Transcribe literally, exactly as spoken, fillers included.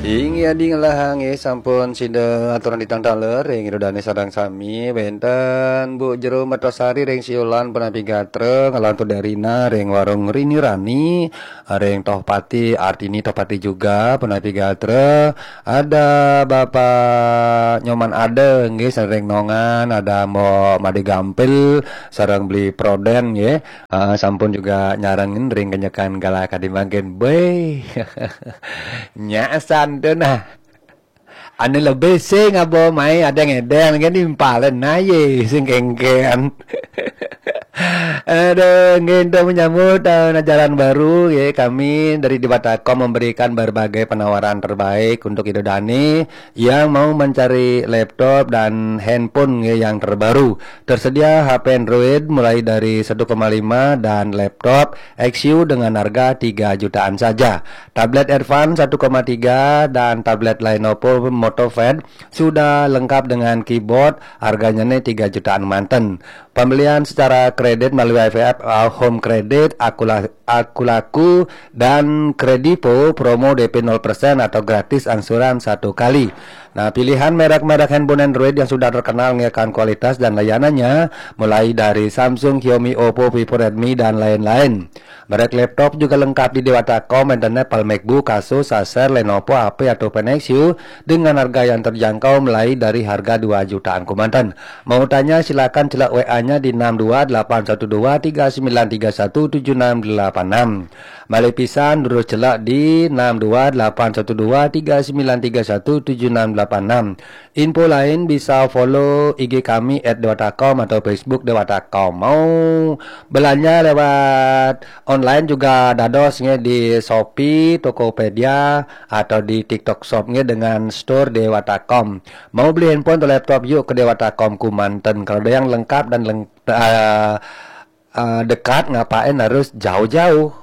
Inggih adi ngelah nggih sampun sida aturang titang taler ring Ida Dane sareng sami, wenten Bu Jero Mertosari ring Siulan punapi gatra, ngelantur Darina ring Warung Rini Rani, ring Tohpati Artini Tohpati juga punapi gatra, ada Bapak Nyoman Ada nggih sareng Nongan, ada Mbok Made Gampil sareng Beli Proden nggih. Ah, sampun juga nyarengin ring kenyekan galah kadi mangkin. Beuh. Nyak santun ah. Anu lebih sing abo mai ada ngedeng kan nimpalen aye sing kengken. Aduh, nggih, untuk menyambut tahun ajaran baru ya, kami dari Dewata Kom memberikan berbagai penawaran terbaik untuk Ida Dane yang mau mencari laptop dan handphone ya, yang terbaru. Tersedia H P Android mulai dari satu koma lima dan laptop X U dengan harga tiga jutaan saja. Tablet Advance satu koma tiga dan tablet Lenovo MotoPad sudah lengkap dengan keyboard, harganya nih tiga jutaan manten. Pembelian secara kredit melalui I V F, uh, Home Credit, Akula, Akulaku, dan Kredivo, promo D P nol persen atau gratis angsuran satu kali. Nah, pilihan merek-merek handphone Android yang sudah terkenal mengekalkan kualitas dan layanannya, mulai dari Samsung, Xiaomi, Oppo, Vivo, Redmi, dan lain-lain. Merek laptop juga lengkap di Dewata Kom, enten Apple MacBook, Asus, Acer, Lenovo, H P, atau Nexus dengan harga yang terjangkau mulai dari harga dua jutaan kemanten. Mau tanya, silakan celak W A-nya di enam dua delapan satu dua tiga sembilan tiga satu tujuh enam delapan enam. Malih pisan, terus celak di enam dua delapan satu dua tiga sembilan tiga satu tujuh enam delapan enam. Info lain bisa follow I G kami at dewata com atau Facebook Dewata Com. Mau belanja lewat online juga dados nggih di Shopee, Tokopedia, atau di TikTok Shop nggih dengan store Dewata Com. Mau beli handphone atau laptop, yuk ke Dewata Com kemanten. Kalau ada yang lengkap dan leng-, eh, eh, dekat, ngapain harus jauh-jauh?